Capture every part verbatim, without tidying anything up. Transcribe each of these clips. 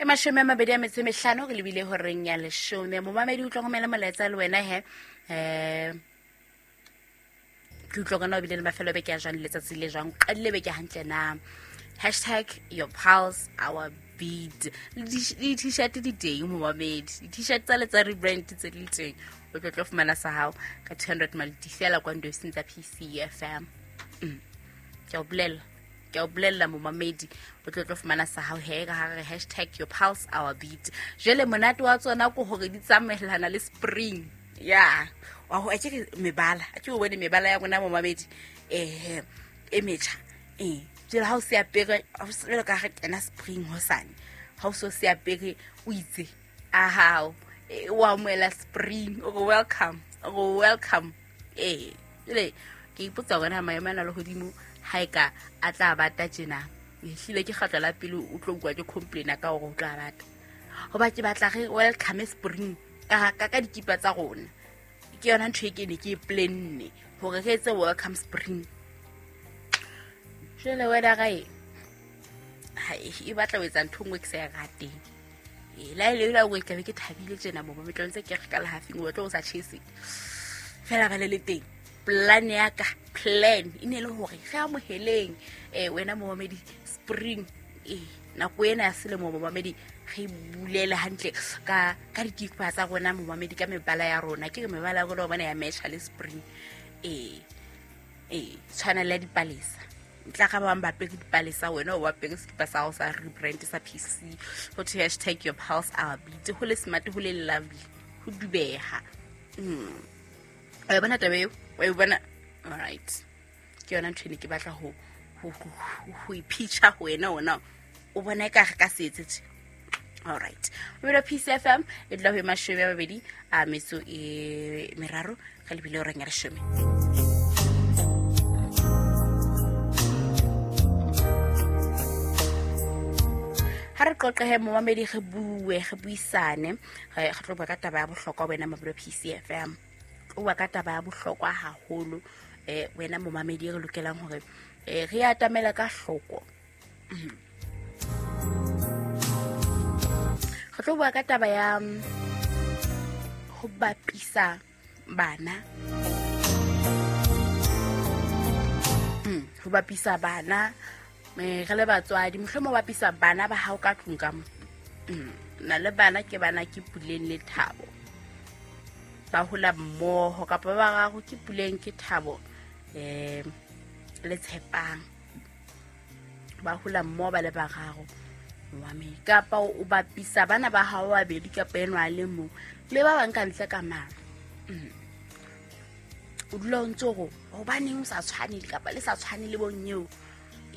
E mashome a mabedi a metso e mehlano re lebile horeng ya leshome. Momamedi o tlo romela molaetsa le wena he. Eh ke utlwa kana o bile le mafelo a beke a jwang letsatsi le jwang, qadile beke hantle na. Hashtag your pulse our beat. Le di-t-shirt di teng momamedi, di-t-shirt tsa le tsa rebrand tse di teng, o tlo tlo fumana sa hao ka two hundred maliti fela kwa ndosing tsa P C F M. Mm. Ke o bolella, ke o bolella momamedi, o tlo tlo fumana sa hao he ka hare hashtag your pulse our beat. Jwale monate wa tsona ke hore di tsamaellana le spring. Ya, wa ho ke mebala, a ke o bone mebala ya rona momamedi, eh e metjha. Eh jwale ha o se apere, jwale ka re kena spring hosane, ha o so se apere o itse a hao o amohela spring, o re welcome, o re welcome. Eh jwale ke ipotsa hore na maemo ana a lehodimo ha e ka a tla bata tjena. Ehlile ke kgetlo la pele o tlo utlwa ke complaina ka hore o tla bata, hoba ke batla re welcome spring ka ka ka dikipa tsa rona. Ke yona ntho e ke ne ke e planne hore re etse welcome spring. Jwale weather e ha e batla ho etsa ntho e nngwe ke sa e rateng. E la ile la o tla be ke thabile tjena mo ba ntse ke re ka lehafing o tlo o sa chese. Fela ba le le teng. Plan ya ka, plan e ne le hore re amoheleng eh wena momamedi spring, eh nako ena ya selemo momamedi re bulele hantle ka ka dikipa tsa rona momamedi ka mebala ya rona. Ke re mebala ya rona bona ya match le spring. Eh eh tshwana le dipalesa. Ntla ka ba bang ba apere dipalesa, wena o apere sekipa sa hao sa rebrand sa P C. Ho thwe hashtag your pulse our beat. Ho le smart, ho le lovely, ho dubeha. Mm. Wa bona taba eo? Wa e bona? All right. Ke yona ntho e ne ke batla ho ho ho ipitcha ho wena ona. O bona eka re ka se etse tje. All right. Mobile P C F M e dula ho e mashome a mabedi a metso e meraro re lebile horeng ya leshome. Ha re qoqehe momamedi, re bue, re buisane, re tlo bua ka taba ya bohlokwa wena Mobile P C F M. O bua ka taba ya bohlokwa haholo eh wena momamedi re lokelang hore eh re atamela ka hloko. Re tlo bua ka taba ya ho bapisa bana. Mm, ho bapisa bana me re le batswadi, mohlomong bapisa bana ba hao ka tlung ka mo. Mm, na le bana ke bana ke Puleng le Thabo. Ba hola mmoho kapa ba bararo ke Puleng ke Thabo eh le Tshepang. Ba hola mmoho ba le bararo. Mwame kapa o bapisa bana ba hao ba babedi kapa enwa le mong le ba bang ka ntle ka mang. Mm. O dula o ntse hore hobaneng o sa tshwane kapa le sa tshwane le bonyeo.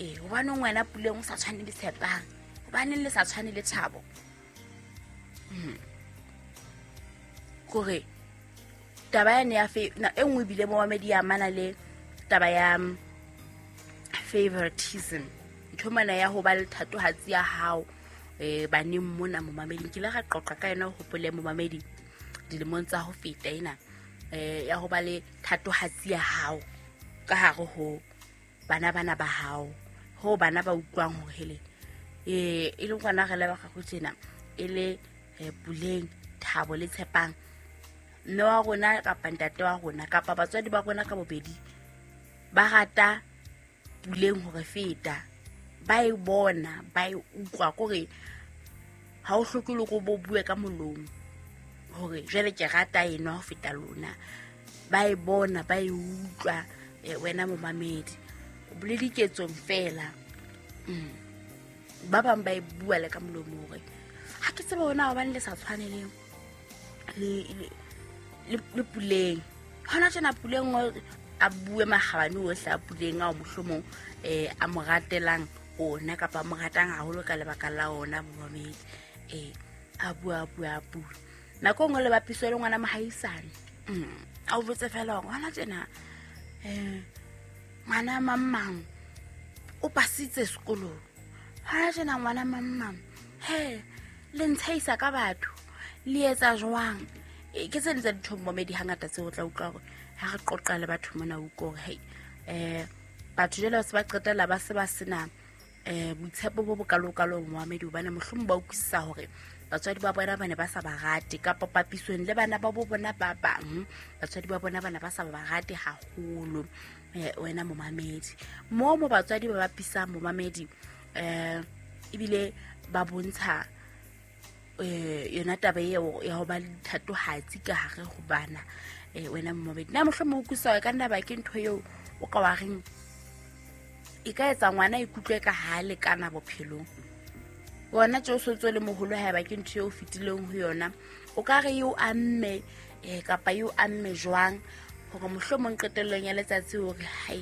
Eh hobaneng wena Puleng o sa tshwane le Tshepang, hobaneng le sa tshwane le Thabo. Mm. Kore taba ya ne ya fe na e nngwe bile mo mamedi ya mana le taba ya favoritism. Ntho mana ya ho ba le thatohatsi ya hao eh baneng mona momamedi ke le ra qoqa ka yona ho hopole momamedi dilemong tsa ho feta ena eh ya ho ba le thatohatsi ya hao ka hare ho bana bana ba hao ho bana ba utlwang hore hele eh e le ngwana re le ba gago tsena e le Puleng, Thabo le Tshepang, mme wa rona kapa ntate wa rona kapa batswadi ba rona ka bobedi ba rata Puleng hore feta, ba e bona ba e utlwa kore ha o hloke le go bo bue ka molomo hore jwale ke rata ena ho feta lona, ba e bona ba e utlwa wena momamedi le diketsong fela. Mm. Ba bang ba e bua le ka molomo hore ha ke tsebe hona hobane le sa tshwane le le le le Puleng. Hona tjena Puleng a bue makgabane ohle a Puleng ao mohlomong eh a mo ratelang ona kapa mo ratang haholo ka lebaka la ona momamedi. Eh a bua bua bua. Nako nngwe le bapiso le ngwana mohaisane. Mm. A o botse fela hore hona tjena eh ngwana mamang o pasitse sekolong. Hona tjena ngwana mamang he le ntshaisa ka batho le etsa jwang? E ke tse ding tsa dintho momamedi hangata tseo o tla utlwa hore ha re qoqa le batho mona o utlwa hore hei eh batho jwale ba se ba qetella ba se ba sena um boitshepo bo bokalokalo momamedi, hobane mohlomong ba utlwisisa hore batswadi ba bona ba ne ba sa ba rate, kapa papisong le bana ba bo bona ba bang batswadi ba bona ba ne ba sa ba rate haholo. Wena momamedi, mo mo batswadi ba bapisang momamedi, um ebile ba bontsha um yona taba eo ya ho ba le thatohatsi ka hare ho bana. Wena momamedi, na mohlomong o utlwisisa ka nna ba ke ntho eo o ka wa reng e ka etsa ngwana ikutlwe ka ha lekana bophelong? Wona tje o so le moholo, haeba ke ntho eo fetileng ho yona, o ka re eo amme kapa eo amme jwang hore mohlomong qetellong ya letsatsi hore hai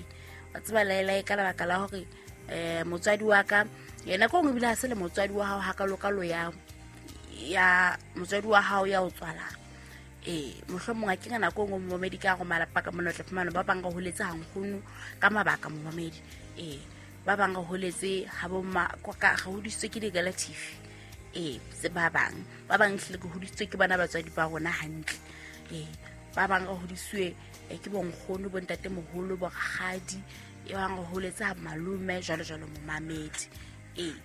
wa tseba laelae ka lebaka la hore um motswadi wa ka yena ko ebile ha se le motswadi wa hao hakalokalo ya ya motswadi wa hao ya o tswalang. Ee, mohlomong a ke ka nako e nngwe momamedi ka go malapa ka mona o tla fumana ba bang re holetse hankgono ka mabaka momamedi. Ee, ba bang re holetse ha bo ma ka re hodisitswe ke di-relative. Ee, se ba bang ba bang hlile ke hodisitswe ke bana batswadi ba rona hantle. Ee, ba bang re hodisitswe ke bonkgono, bontatemoholo, borakgadi, e bang re holetse ha malome jwalo jwalo momamedi. Ee,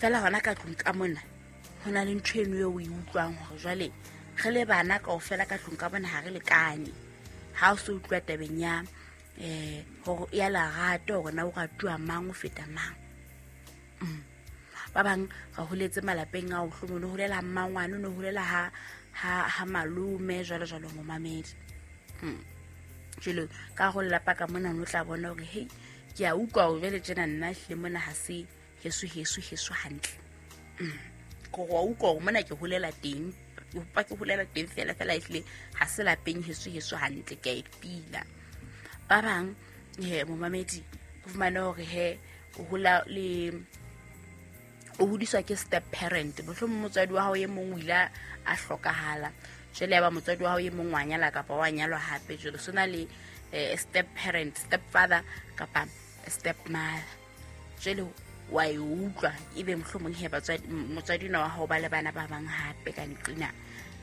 fela hona ka tlung ka mona ho na le ntho eno eo o e utlwang hore jwale re le bana kaofela ka tlung ka bona ha re lekane. Ha o se utlwa tabeng ya um hore ya lerato hore na o ratuwa mang o feta mang. Ba bang re holetse malapeng ao, mohlomong o holela ha mmangwane, o no holela ha ha ha malome jwalo jwalo momamedi. Jwale ka ho lelapa ka mona o tla bona hore hei ke a utlwa hore jwale tjena nna ehlile mona ha se heso heso heso hantle. Ko wa utlwa hore mona ke holela teng, pa ke holela teng fela fela ehlile ha se lapeng heso heso hantle, ke a e pila. Ba bang he momamedi o fumane hore he o hola le o hodiswa ke step parent, mohlomong motswadi wa hao e mong o ile a hlokahala, jwale ya ba motswadi wa hao e mong wa nyala kapa wa nyalwa hape, jwale so na le step parent, step father kapa step mother. Jwale wa e utlwa ebe mohlomong he batswadi motswadi wa hao ba le bana ba bang hape ka nqina,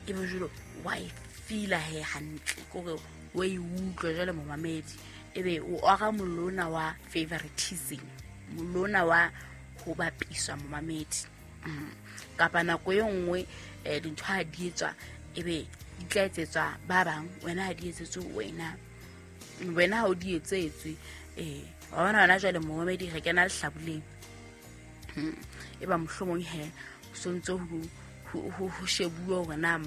ebe jwale wa e feel he hantle kore wa e utlwa jwale momamedi, ebe o ora molona wa favoritism, molona wa ho bapiswa momamedi. Kapa nako e nngwe dintho ha di etswa ebe di tla etsetswa ba bang, wena ha di etsetswe wena, wena ha o di etsetswe. Eh wa bona hona jwale momamedi re kena lehlabuleng, e ba mohlomong he so ntse ho ho shebuwa hore na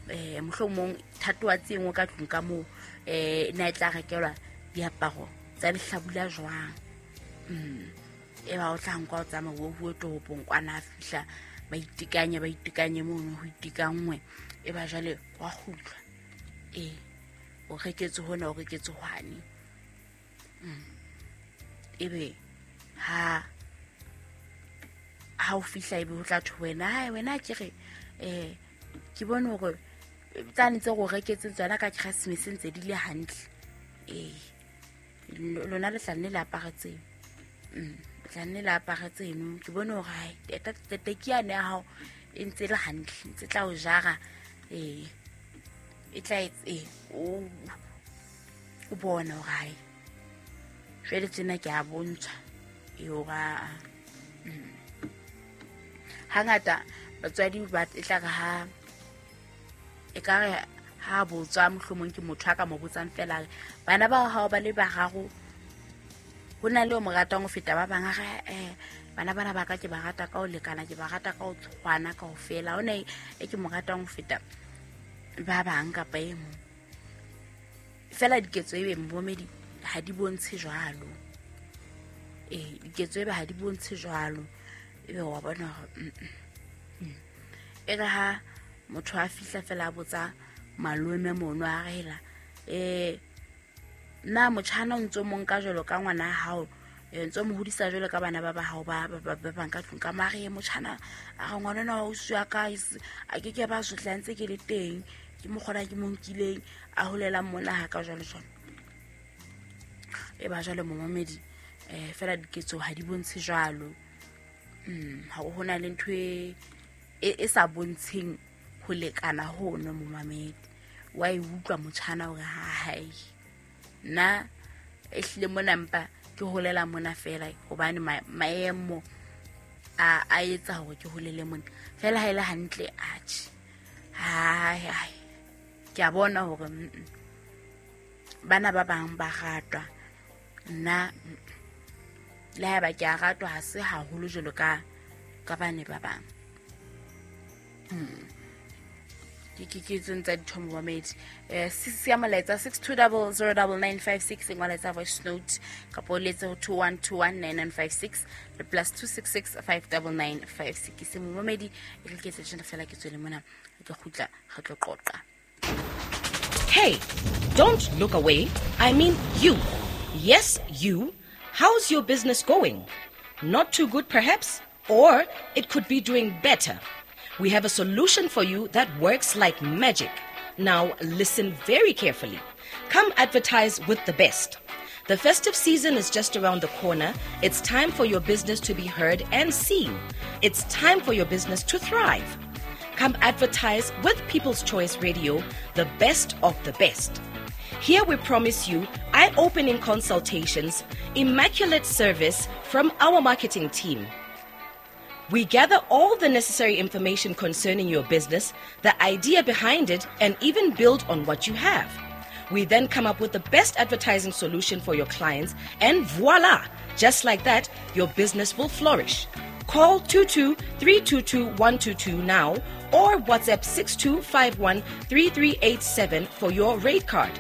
eh mohlomong thatohatsi e nngwe ka tlung ka moo eh na e tla rekelwa diaparo tsa lehlabula jwang. E ba o tla nka o tsamaya o bue toropong kwana, a fihla ba itekanye ba itekanye mono ho itekangwe, e ba jwale wa kgutla. Ee, o reketse hona o reketse hwane. Ebe ha ha o fihla ebe ho tla thwe wena hai wena ke re eh ke bone hore tsane tse go reketseng tsona ka Christmas ntse di le hantle. Ee, lona le tla nne le apare tseo, tla nne le apare tseno, ke bone hore hai tete yane ya hao e ntse le hantle, ntse tla o jara. Ee, e tla e o o bona hore hai jwale tsena ke a bontshwa e hore hangata batswadi ba e tla re ha e ka re ha botswa mohlomong ke motho a ka mo botsang fela bana ba hao ba le bararo ho na le o mo ratang ho feta ba bang, a re eh bana bana ba ka ke ba rata ka ho lekana, ke ba rata ka ho tshwana kaofela, ho na e ke mo ratang ho feta ba bang kapa e mong. Fela diketso ebe momamedi ha di bontshe jwalo. Ee, diketso ebe ha di bontshe jwalo, ebe wa bona hore e re ha motho a fihla fela a botsa malome mono a rela eh na motjhana o ntso mo nka jwalo ka ngwana hao, ntso mo hodisa jwalo ka bana ba ba hao ba ba ba ka tlung ka mare motjhana a re ngwana na o siya ka a ke ke ba sotla ntse ke le teng, ke mo kgona ke mo nkileng a holela mona ha ka jwalo jwalo. E ba jwale momamedi eh fela diketso ha di bontshe jwalo. Mm ha ho na le ntho e e sa bontsheng ho lekana hono momamedi, wa e utlwa motjhana hore ha hai nna ehlile mona mpa Ke holela mona fela hobane maemo a a etsa hore ke holele mona. Fela ha ile hantle atjhe. Hai hai. Ke a bona hore bana ba bang ba ratwa. Nna le haeba ke a ratwa ha se haholo jwalo ka ka bane ba bang. Hmm. Ke ke ke tsentsa dithomo ba medi. Eh six ya molaetsa six two zero zero nine nine five six engwa letsa voice note kapa o letse ho two one two one nine nine five six le plus two six six five nine nine five six. Se momamedi e re ke tse tjena fela ke tswele mona ke kgutla re tlo qoqa. Hey, don't look away. I mean you. Yes, you. How's your business going? Not too good perhaps, or it could be doing better. We have a solution for you that works like magic. Now listen very carefully. Come advertise with the best. The festive season is just around the corner. It's time for your business to be heard and seen. It's time for your business to thrive. Come advertise with People's Choice Radio, the best of the best. Here we promise you eye-opening consultations, immaculate service from our marketing team. We gather all the necessary information concerning your business, the idea behind it, and even build on what you have. We then come up with the best advertising solution for your clients, and voila! Just like that, your business will flourish. Call two two three two two one two two now or WhatsApp six two five one three three eight seven for your rate card.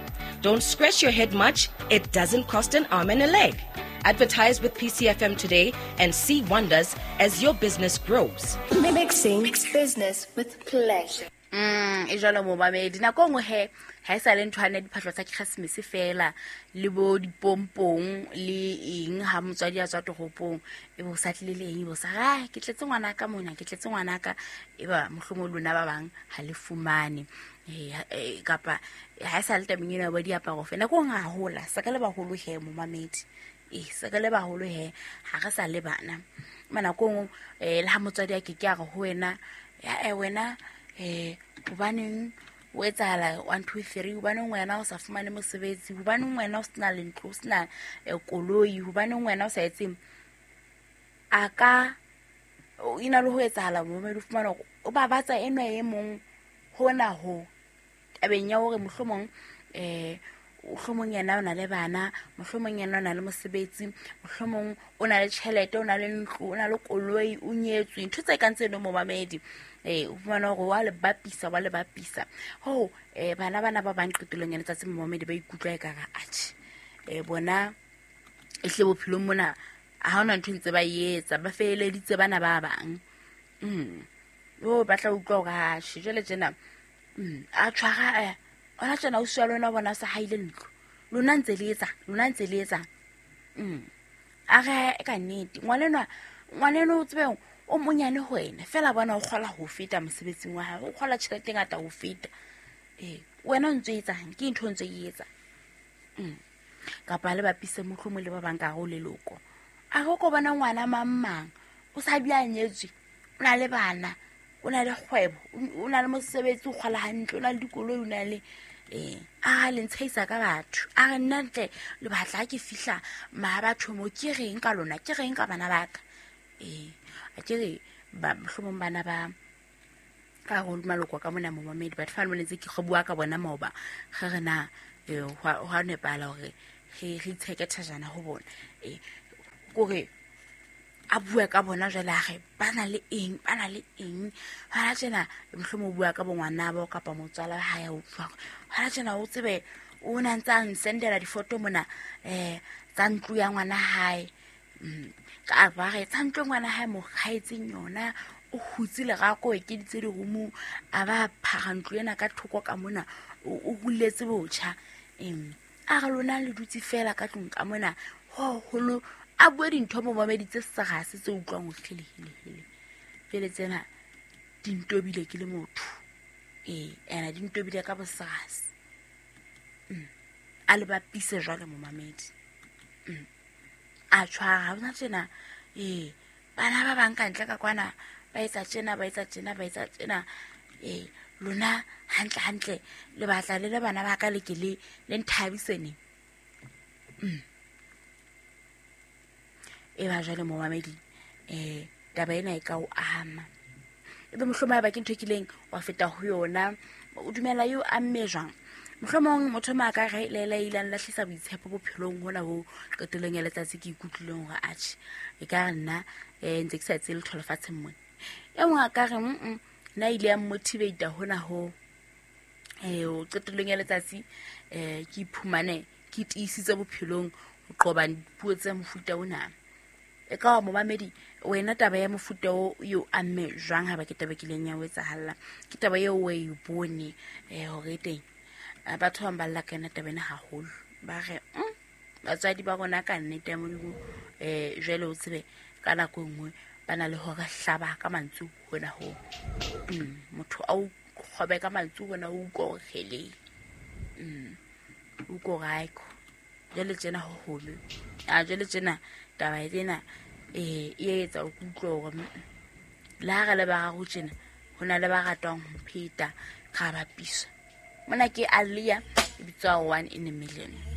Don't scratch your head much. It doesn't cost an arm and a leg. Advertise with P C F M today and see wonders as your business grows. Mixing business with pleasure. Mm, e jwalo momamedi nako nngwe he ha e sa le ntho ane diphahlo tsa Christmas fela le bo dipompong le eng ha motswadi a tswa toropong e bo sa tlile le eng e bo sa ra ke tletse ngwana ka mona ke tletse ngwana ka e ba mohlomong lona ba bang ha le fumane eh kapa ha e sa le tabeng ena ba diaparo fela nako nngwe ha hola sa ka le baholo he momamedi e sa ka le baholo he ha re sa le bana mana kong eh le ha motswadi a ke ke a re ho wena ya e wena eh hobaneng o etsahala one two three hobaneng wena o sa fumane mosebetsi hobaneng wena o sena le ntlo o sena koloi hobaneng wena o sa etseng a ka ina le ho etsahala momamedi o fumana hore o babatsa enwa e mong hona ho tabeng ya hore mohlomong eh mohlomong yena o na le bana mohlomong yena o na le mosebetsi mohlomong o na le tjhelete o na le ntlo o na le koloi o nyetswe ntho tse kang tseno momamedi eh o fumana hore wa le bapisa wa le bapisa ho eh bana bana ba bang qetellong ya letsatsi momamedi ba ikutlwa e kare atjhe eh bona e hle bophelong mona ha hona ntho ntse ba etsa ba feeleditse bana ba bang mm o batla utlwa hore atjhe jwale tjena mm a tshwara eh ona tjena o swa lona bona sa haile ntlo lona ntse le etsa lona ntse le etsa mm a re ka nnete ngwanenwa ngwaneno o tsebe o monyane ho wena fela bona o kgola ho feta mosebetsing wa hae o kgola tjhelete ngata ho feta eh wena o ntse etsang ke ntho ntse e etsa mm kapa le bapise mohlomong le ba bang ka ho leloko a go ko bona ngwana mang mang o sa bia nyetswe o na le bana o na le kgwebo o na le mosebetsi o kgola hantle o na le dikoloi o na le eh a le ntshaisa ka batho a re nna ntle le batla ke fihla ma batho mo ke reng ka lona ke reng ka bana ba ka eh a ke re ba mohlomong bana ba ka go maloko ka mona momamedi batho fa le ntse ke go bua ka bona maoba ge re na eh ho nepala hore re re itsheke thajana ho bona eh kore a bua ka bona jwale a re ba na le eng ba na le eng hona tjena mohlomong o bua ka bongwana bo kapa motswala ha ya utlwa hona tjena o tsebe o na ntse a nsendela difoto mona eh tsa ntlo ya ngwana hae ka ba re tsa ntlo ngwana hae mo kgaetseng yona o hutse lerako e keditse dirumu a ba phara ntlo ena ka thoko ka mona o huletse botjha em a re lona le dutse fela ka tlung ka mona ho holo a bue dintho mo mamedi tse serase tse utlwang ho hlelehile pele tsena dintobile ke le motho eh ena dintobile ka bosase mm a le bapise jwale mo mamedi mm a tshwara bona tsena eh bana ba bang ka ntle ka kwana ba etsa tjena ba etsa tjena ba etsa tjena eh lona hantle hantle le batla le le bana ba ka le ke le le nthabisene mm E ba jwale momamedi um taba ena e ka o ama. Ebe mohlomong haeba ke ntho e kileng wa feta ho yona, o dumela eo amme jwang? Mohlomong motho ma ka re le le ile lahlisa boitshepo bophelong hona ho qetellong ya letsatsi ke ikutlwileng hore atjhe e ka re nna eh ntse ke sa etse letho lefatsheng mona. E mong a ka re mm nna ile ya motivate hona ho eh o qetellong ya letsatsi eh ke iphumane ke tiisitse bophelong ho qoba dipuo tse mofuta ona. E ka wa momamedi wena taba ya mofuta o eo amme jwang ha ba ke taba kileng ya o etsahalla? Ke taba eo o e bone eh hore teng batho ba balla ka yona taba ena haholo. Ba re mm batswadi ba rona ka nnete ya Modimo eh jwale o tsebe ka nako e nngwe ba na le hore hlaba ka mantswe hona ho. Mm motho a o kgobe ka mantswe hona o utlwa hore kgele. Mm o utlwa hore haiko. Jwale tjena ho holo. A jwale tjena taba ena eh e etsa o utlwe hore le ha re le bararo tjena ho na le ba ratwang ho pheta ra bapisa. Mona ke Alia e bitswa One in a Million.